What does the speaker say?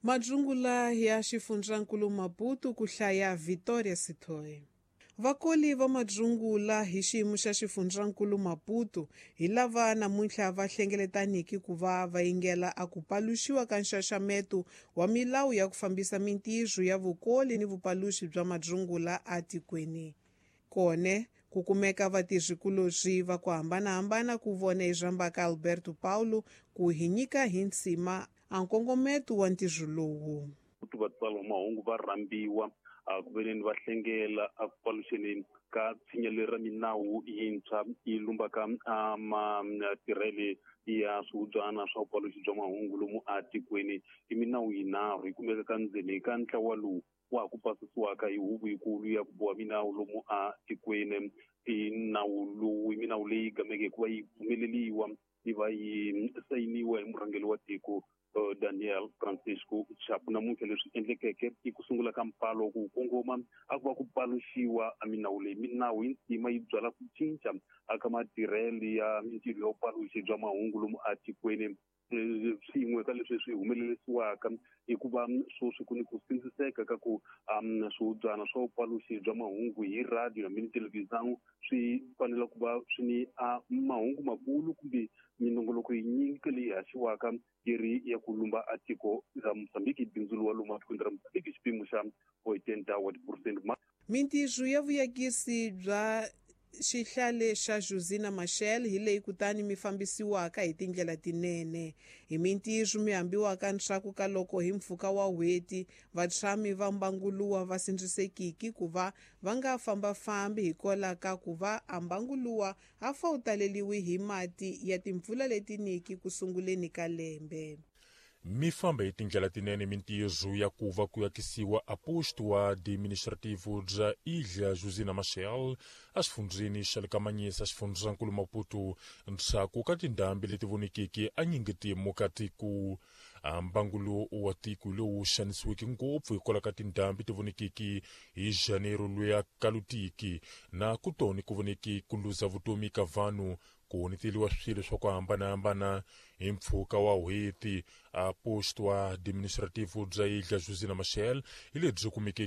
Madzungula ya xifundzankulu Maputo ku hlaya Victoria Sithole. Vakoli va madzungula hi xiyimo xa xifundzankulu Maputo hi lava namuntlha va hlengeletaniki ku va va yingela a ku paluxiwa ka nxaxameto wa milawu ya ku fambisa mintirho ya vukoli ni vupaluxi bya madzungula atikweni. Kone ku kumeka vatirhikulobye va ku hambanahambana ku vona hi rhambaka Alberto Paulo ku hi nyika hi nsima a nkongometo wa ntirho lowu. Vatswari va mahungu va rhambiwa a ku veneni va hlengela a ku paluxeni ka tshinya leri ra minawu yintshwa yi lumbaka a matirhele ya swihubyana swa vupaluxi bya mahungu lomu atikweni. I minawu yinharhu yi kumeka ka ndzeni ka ntlawa lowu wa ha ku pasisiwaka hi huvo yikulu ya ku boha minawu lomu atikweni. I nawu lowu i minawu leyi gameke hikuva yi pfumeleliwa yi va yi sayiniwa hi murhangeri wa tiko Daniel Francisco Chapo. Namuntlha leswi endlekeke i ku sungula ka mpalo ku kongoma a ku va ku paluxiwa a minawu leyi. Minawu yi ntima yi byala ku cinca aka matirhelo ya mintirho ya vupaluxi bya mahungu lomu atikweni. Swin'we ka leswi swi humelerisiwaka i ku va sweswi ku ni ku sindziseka ka ku swihubyana swa vupaluxi bya mahungu hi radio hambi ni televhizão swi fanele ku va swi ni a mahungu makulu kumbe minongoloko yinyingi leyi haxiwaka yi ri ya ku lumba a tiko ra Mozambique, bindzu lowa lomu atikweni ra Mozambique xipimo xa 80 wa tiphurosente. Mintirho ya vuyakisi bya xihlale xa Josina Machel hi leyi kutani mi fambisiwaka hi tindlela tinene. Hi mintirho mi hambiwaka ndzhaku ka loko hi mpfhuka wa n'hweti vatshami va mbanguluwa va sindzisekiki ku va va nga fambafambi hikwalaho ka ku va a mbanguluwa a fa wu taleliwi hi mati ya timpfula leti niki ku sunguleni ka lembe. Mi famba hi tindlela tinene mintirho ya ku va ku yakisiwa a posto wa administrativo bya Ilha Josina Machel exifundzheni xa le ka Manyisa, xifundzankulu Maputo, ndzhaku ka tindhambi leti vonekeke a nyingetimu ka tiko. Mbangu wa tiko lowu xanisiweke ngopfu hikwalaho ka tindhambi ti vonekeke hi Janeiro luya kalutiki na kutoni ku voneke ku luza vutomi ka vanhu, ku honeteliwa swilo swa ku hambanahambana hi mpfhuka wa n'hweti. A posto wa administrativo bya Ilha Josina Machel hi lebyi kumekeke.